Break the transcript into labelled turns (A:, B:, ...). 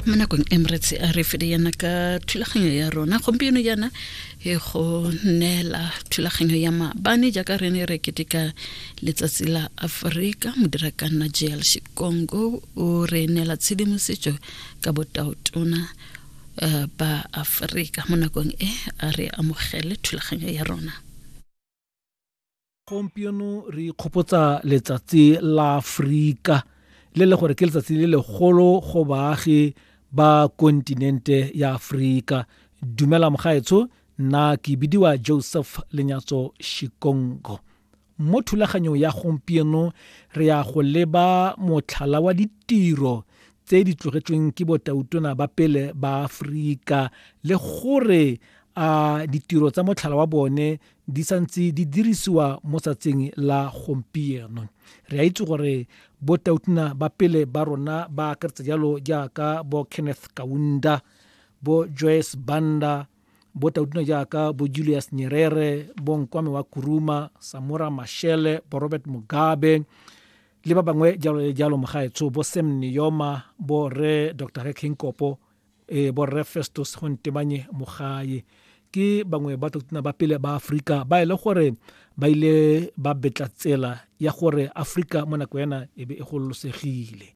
A: Mo nakong e moretsi a re fede yana ka thulaganyo ya rona gompieno jaana e go neela thulaganyo ya maabane jaaka re ne re keteka letsatsi la Aforika. Modirakanna Jl Shikongo o re neela tshedimosetso ka botaotona ba Aforika. Mo nakong e a re amogele thulaganyo ya rona.
B: Gompieno re ikgopotsa letsatsi la Aforika, le le gore ke letsatsi le legolo go baagi ba kontinente ya Aforika. Dumela mogaetsho, nna ke bidiwa Joseph Lenyatso Shikongo. Mo thulaganyong ya gompieno re ya go leba motlhala wa ditiro tse di tlogetsweng ke botautona ba pele ba Aforika, le gore a ditiro tsa motlhala wa bone di santse di dirisiwa mo tsatsing la gompieno. Re a itse gore botautona ba pele ba rona ba akaretsa jalo jaaka bo Kenneth Kaunda, bo Joyce Banda, botautona jaaka bo Julius Nyerere, bo Nkwame wa Kuruma, Samora Machel, bo Robert Mugabe le ba bangwe jalo le jalo mogaetsho, bo Sam Nujoma, bo re Dr. Hage Geingob, bo rre Festus Gontebanye Mogae. Ke bangwe ba tautona ba pele ba Aforika ba e le gore ba ile ba betla tsela ya gore Aforika mo nako ena e be e gololosegile.